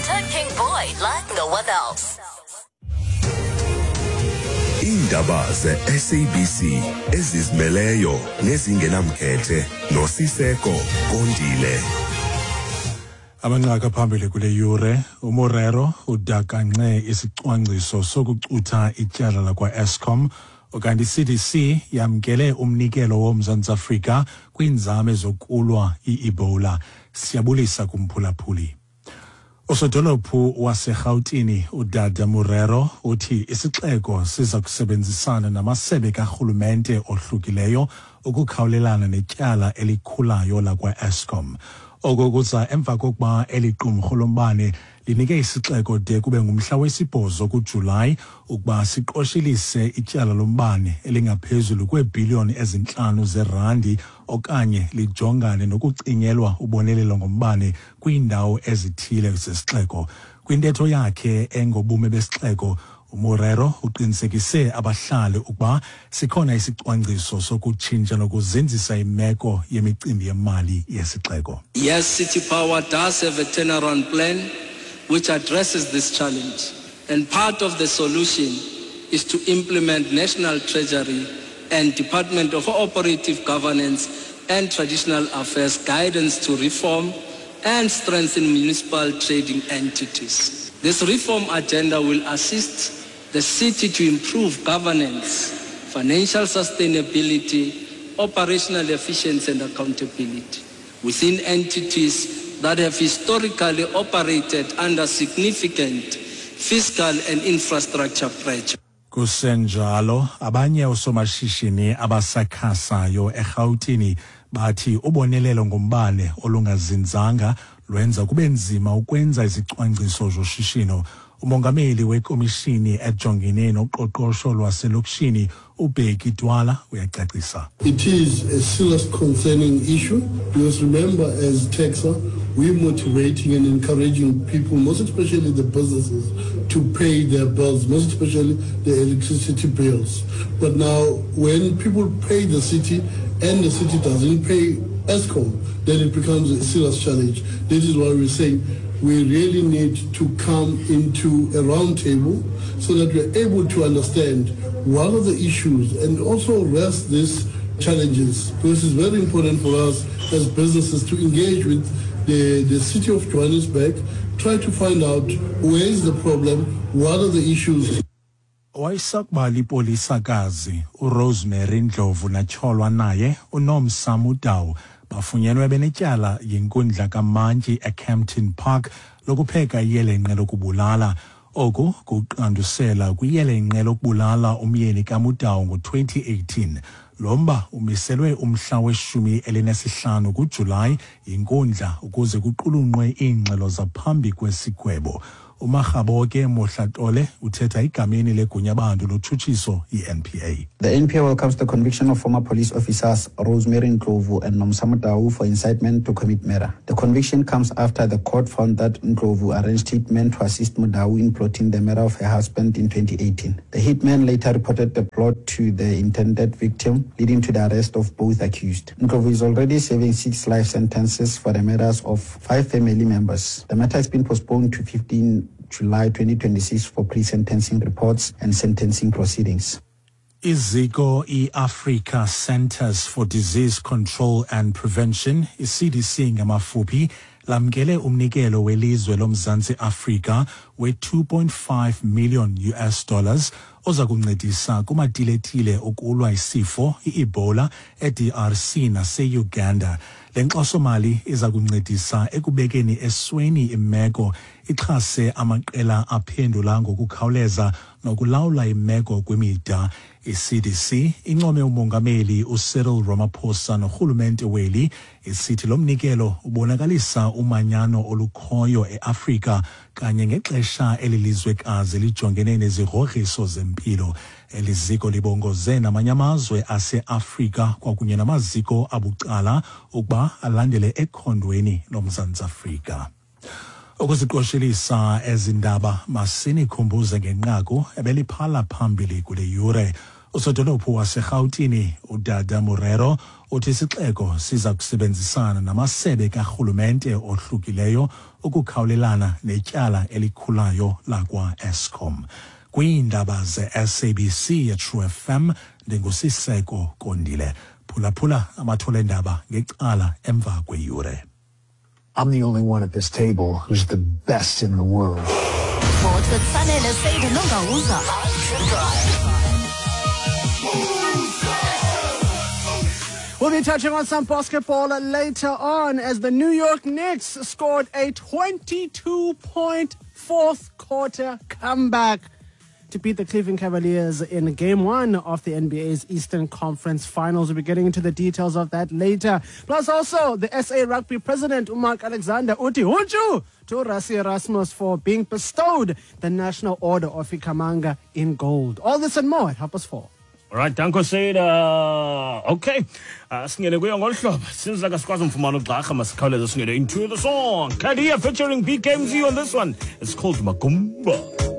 Enter King Boy like no one else. Iindaba ze-SABC ezizimeleyo nezingenamkhethe noSiseko Kondile. Amanqaku aphambili kule yure uMorero udakanxe isicwangciso sokucutha ityala lakwa-Eskom ukanti i-CDC yamkele umnikelo woMzantsi Afrika kwiinzame zokulwa i-Ebola. Siyabulisa kumphulaphuli. Usodolophu waseRhawutini uDada Morero uthi isixeko siza kusebenzisana namasebe karhulumente ohlukileyo ukukhawulelana netyala elikhulayo lakwa-Eskom. Oko kuza emva kokuba eli qumrhu lombane linike isixeko de kube ngumhla wesibhozo kuJulayi ukuba siqoshelise ityala lombane elingaphezulu kweebhiliyoni ezintlanu zerandi okanye lijongane nokucinyelwa ubonelelo ngombane kwiindawo ezithile zesixeko. Kwintetho yakhe engobume besixeko, uMorero uqinisekise abahlali ukuba sikhona isicwangciso sokutshintsha nokuzinzisa imeko yemicimbi yemali yesixeko. Yes, City Power does have a turnaround plan which addresses this challenge. And part of the solution is to implement National Treasury and Department of Cooperative Governance and Traditional Affairs guidance to reform and strengthen municipal trading entities. This reform agenda will assist the city to improve governance, financial sustainability, operational efficiency and accountability within entities that have historically operated under significant fiscal and infrastructure pressure. Kusenjalo, abanye oosomashishini abasakhasayo eRhawutini bathi ubonelelo ngombane olungazinzanga lwenza kube nzima ukwenza izicwangciso zoshishino. Umongameli wekomishini ejongene noqoqosho lwaselokishini uBheki Twala uyacacisa. It is a serious concerning issue because remember as TEXA, we're motivating and encouraging people, most especially the businesses, to pay their bills, most especially the electricity bills. But now when people pay the city and the city doesn't pay Eskom, then it becomes a serious challenge. This is why we're saying we really need to come into a round table so that we're able to understand what are the issues and also rest these challenges, because it's very important for us as businesses to engage with the, the city of Johannesburg, try to find out where is the problem, what are the issues. Owayesakuba lipolisakazi uRosemary Ndlovu natyholwa naye uNomsa Mudau bafunyenwe benetyala yinkundla kamantyi eKempton Park lokupheka iyelenqe lokubulala. Oku kuqandusela kwiyelenqe lokubulala umyeni kaMudau ngo-2018. Lo mba umiselwe umhla weshumi elinesihlanu kuJulayi yinkundla ukuze kuqulunqwe iingxelo zaphambi kwesigwebo. UMakgaboke Mohlatole uthetha egameni legunyabantu lotshutshiso i-NPA. The NPA welcomes the conviction of former police officers Rosemary Ndlovu and Nomsa Motau for incitement to commit murder. The conviction comes after the court found that Ndlovu arranged hitmen to assist Mudau in plotting the murder of her husband in 2018. The hitman later reported the plot to the intended victim, leading to the arrest of both accused. Ndlovu is already serving 6 life sentences for the murders of 5 family members. The matter has been postponed to 15 July 2026 for pre-sentencing reports and sentencing proceedings. Iziko i-Africa Centers for Disease Control and Prevention, i-CDC ngamafuphi, lamkele umnikelo welizwe loMzantsi Afrika we-2.5 million US dollars oza kuncedisa kumatiletile okulwa isifo i-Ebola e-DRC nase-Uganda. Le nkxasomali iza kuncedisa ekubekeni esweni imeko, ixhase amaqela aphendula ngokukhawuleza nokulawula imeko kwimida. I-CDC income umongameli uCyril Ramaphosa norhulumente weli isithi lo mnikelo ubonakalisa umanyano olukhoyo eAfrika kanye ngexesha eli lizwekazi lijongene nezigrogriso zempilo. Eli ziko libongoze namanye amazwe aseAfrika kwakunye namaziko abucala ukuba alandele ekhondweni loMzantsi Afrika. Ukuziqoshelisa ezi ndaba masinikhumbuze ngenqaku ebeliphala phambili kule yure. Usodolophu waseRhawutini uDada Morero uthi isixeko siza kusebenzisana namasebe karhulumente ohlukileyo ukukhawulelana netyala elikhulayo lakwa-Eskom. Kwiindaba ze-SABC yeTrue FM, ndinguSiseko Kondile. Phulaphula amathole endaba ngecala emva kweyure. I'm the only one at this table who's the best in the world. Sports with Sanele Seide Nongawuza. We'll be touching on some basketball later on as the New York Knicks scored a 22-point fourth quarter comeback to beat the Cleveland Cavaliers in Game 1 of the NBA's Eastern Conference Finals. We'll be getting into the details of that later. Plus also, the SA Rugby president, Mark Alexander, uthi hunchu to Rassie Erasmus for being bestowed the National Order of Ikhamanga in gold. All this and more at 4:30. All right, danko Seda. Okay. Singene kuyo ngolu hlobo. Since like asikwazi umfumana ugxarha, masikhawuleze singene into the song. Kadia featuring BKMZ on this one. It's called Magumba.